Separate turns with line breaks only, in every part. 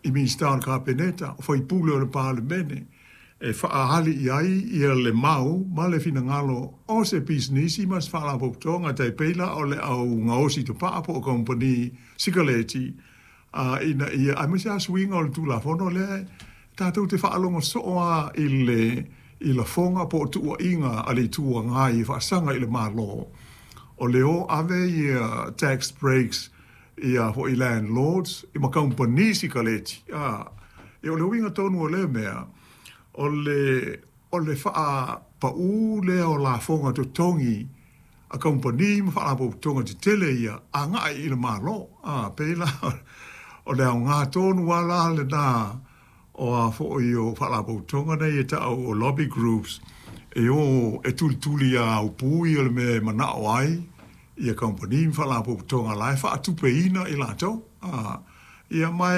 i Minisita o le Kapeneta, o faipule o le Palemene, e faaali i ai ia le mau ma le finagalo o se pisinisi ma se faalapotopotoga, tai pei la o le au gaosi tapaa po o kamupani sikaleti, ina ia aemaise lava suiga o le Tulafono lea tatou te faalogo soo lava i lafoga po o tuuaiga a le Itu Agai e faasaga i le Malo, o le o ave ia tax breaks ia foi landlords ma kamupani sikaleti. Ia o le uiga tonu o lea mea, o le faapaū lea o lafoga totogi a kamupani ma faalapotopotoga tetele ia agai i le Malo. Pei la o le aoga tonu lava la lena o a foi o faalapotopotoga nei e tau o lobby groups e o e tulituli a aupu ia le mea e manao ai ia kamupani ma faalapotopotoga la e faatupeina i latou. Ia ma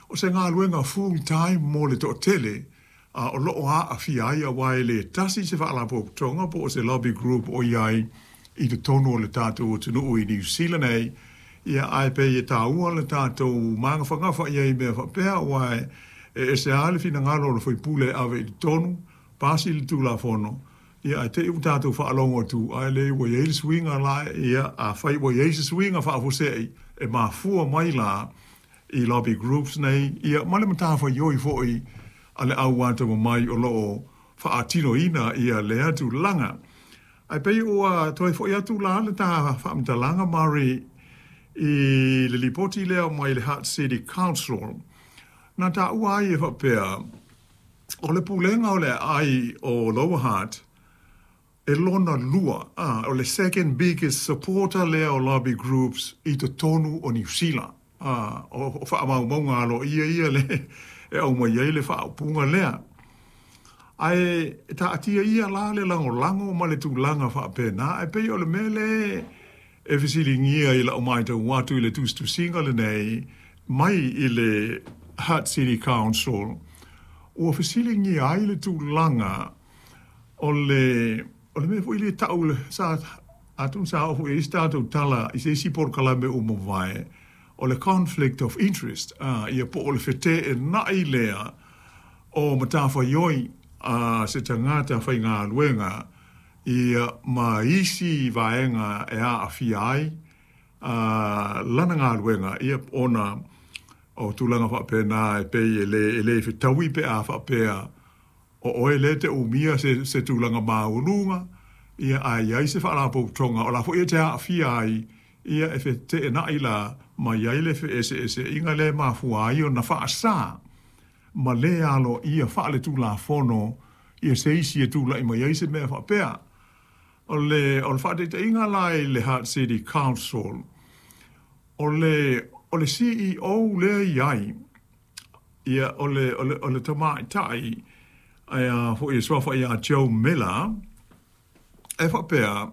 o se galuega full time mo le toatele o lo o aafia ai, aua e le tasi se faalapotopotoga po o se lobby group o i ai i totonu o le tatou atunuu i Niu Sila nei. Ia ae pei e taua le tatou magafagafa i ai mea faapea, aua e ese lava le finagalo o le faipule e ave i totonu, pasi le Tulafono, ia ae te i ua tatou faalogo atu ae le ua i ai le suiga la. Ia afai ua i ai se suiga faafuasei e mafua mai la i lobby groups nei, ia ma le matafaioi foi a le au atamamai o lo o faatinoina ia lea tulaga. Ae pei ua toe foi atu la le ta faamatalaga, Mari, i le lipoti lea mai le Hutt City Council na taua ai e faapea o le pulega o le aai o Lower Hutt e lona lua, o le second biggest supporter lea o lobby groups i totonu o Niu Sila. O faamaumauga aloaia ia le e aumai ai le faaupuga lea. Ae taatia ia la le lagolago ma le tulaga faapena, ae pei o le mea le e fesiligia i lau matau atu i le tusitusiga lenei mai i le Hutt City Council, ua fesiligia ai le tulaga o le mea foi le tau le sa atonu sa oo foi i se tatou tala i se isi polokalame ua mavae, o le conflict of interest, ia po o le feteenai lea o matafaioi a se tagata faigaluega ia ma isi vaega e aafia ai lana galuega, ia ona o tulaga faapena e pei e le fetaui pe a faapea o oe lea te umia se tulaga maualuga, ia ae i ai se faalapotopotoga o la foi e te aafia ai, ia e feteenai la ma i ai le feeseeseaiga lea e mafua ai ona faasā ma le aloaia faale-tulafono ia se isi e tulai mai ai se mea faapea. O le faataitaiga la i le Hutt City Council, o le CEO lea i ai, ia o le tamaitai ai a foi e suafa ia Joe Miller, e faapea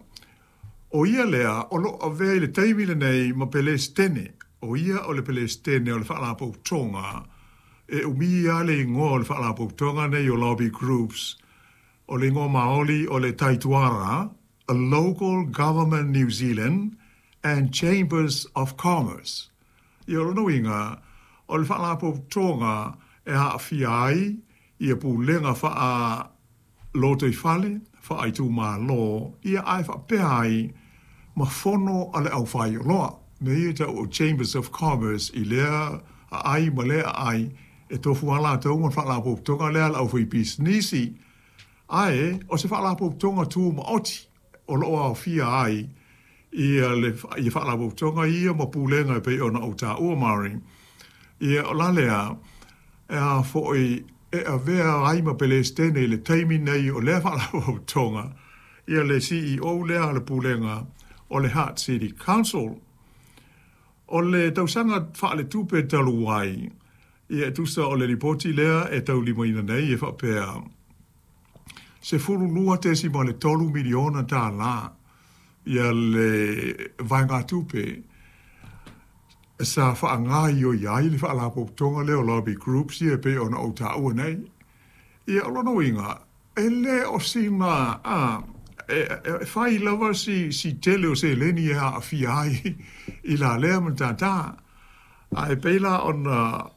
o ia lea o lo o avea i le taimi lenei ma Pelestene. O ia o le Pelestene o le faalapotopotoga e umia le igoa o le faalapotopotoga nei o lobby groups. O le igoa maoli o le Taituara a Local Government New Zealand and Chambers of Commerce. Ia o lona uiga, o le faalapotopotoga e aafia ai ia pulega faa lotoifale, faaitumalo, ia ae faapea ai ma fono a le aufaioloa. Mea ia tau o Chambers of Commerce i lea aai ma lea aai e tofu lava latou ma le faalapotopotoga lea a le aufaipisinisi. Ae o se faalapotopotoga tumaoti o lo o aofia ai ia faalapotopotoga ia ma pulega e pei ona ou taua, Mari. Ia o la lea e a foi e avea ai ma Pelestene i le taimi nei o lea faalapotopotoga ia le CEO lea a le pulega o le Hutt City Council. O le tausaga faaletupe talu ai, ia e tusa o le lipoti lea e taulimaina nei e faapea $12.3 miliona ia le vaegatupe sa faagaioi ai le faalapotopotoga lea o lobby groups ia e pei ona ou taua nei. Ia o lona uiga, e le o sina e fai lava si tele o seleni e aafia ai i la lea matata. Ae pei la ona